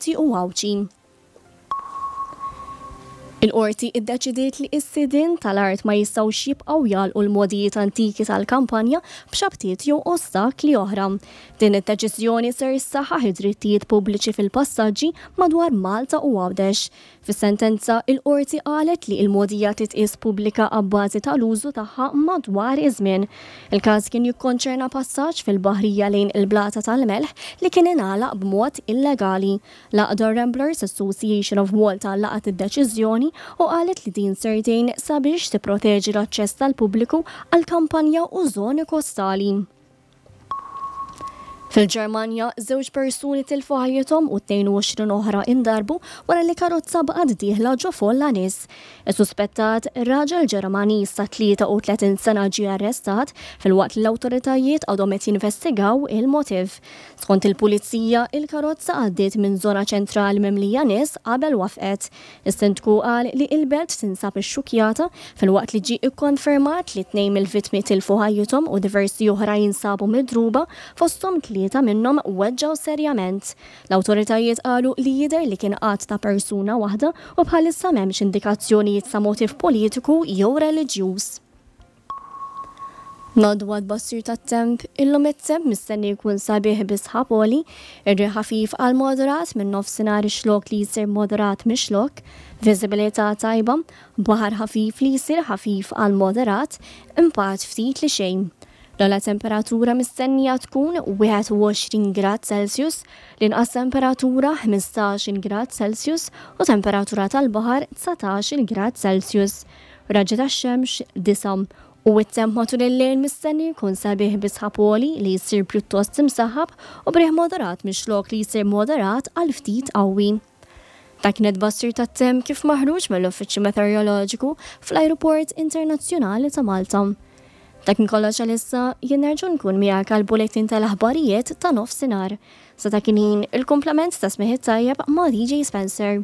Malti u Għawdxi. Il-Qorti iddeċidiet li s-sidien tal-art ma jistgħux jibqgħu jagħlqu l-mogħdijiet antiki tal-kampanja b'xabtiet jew ostakli oħra. Din id-deċiżjoni ser issaħħaħ id-drittijiet pubbliċi fil-passaġġi madwar Malta u Għawdex. Fis-sentenza, il-Qorti qalet li l-mogħdija titqies pubblika abbażi tal-użu tagħha madwar iż-żmien. Il-każ kien jikkonċerna passaġġ fil-baħrija lejn il-Blata tal-Melħ li kien ingħalaq b'mod illegali. L-għaqda Ramblers Association of Malta laqgħet id-deċiżjoni u qalet li din ser tgħin sabiex tipproteġi l-aċċess tal-pubbliku għall-kampanja u żoni kostali. Fil-Ġermanja, żewġ persuni tilfu ħajjithom u 22 oħra indarbu wara li karozza baqgħet dieħla ġo folla nies. Is-suspettat, raġel Ġermaniż ta' 33 sena ġie arrestat filwaqt li l-awtoritajiet għadhom qed jinvestigaw il-motiv. Skont il-pulizija, il-karozza għaddiet minn żona ċentrali mimlija nies qabel wafqet. Is-Sindku qal li il-belt tinsab ixxukkjata filwaqt li ġie ikkonfermat li tnejn mill-vittmi tilfu ħajjithom u diversi oħra jinsabu midruba, fosthom tlieta minnhom weġġgħu serjament. L-awtoritajiet qalu li jidher li kien att ta' persuna waħda u bħalissa m'hemmx indikazzjonijiet ta' motiv politiku jew reliġjuż. Ngħaddu għat-tbassir tat-temp, illum it-temp mistenni jkun sabiħ bi sħab għoli, ir-riħ ħafif għal moderat min-nofsinhar ix-xlokk li jsir moderat mix-xlokk, viżibilità tajba, baħar ħafif li jsir ħafif għal moderat, impatt ftit li xejn. L-ogħla temperatura mistennija tkun 21 grad Celsius, l-inqas temperatura 15-il grad Celsius u temperatura tal-baħar 19-il grad Celsius. Raġġi tax-xemx 9 u t-temp matul il-lejl mistenni jkun sabiħ bi sħab għoli li jsir pjuttost imsaħħab u b'riħ moderat mix-xlokk li jsir moderat għal ftit qawwi. Dak kien it-tbassir tat-temp kif maħruġ mill-Uffiċċju Meteoroloġiku fl-Ajruport Internazzjonali ta' Malta. Dak kien kollox għalissa, jien nerġa' nkun miegħek għall-bulettin tal-aħbarijiet ta' nofsinhar. Sa dak il-ħin, il-kumplament ta' smigħ it-tajjeb ma' DJ Spencer.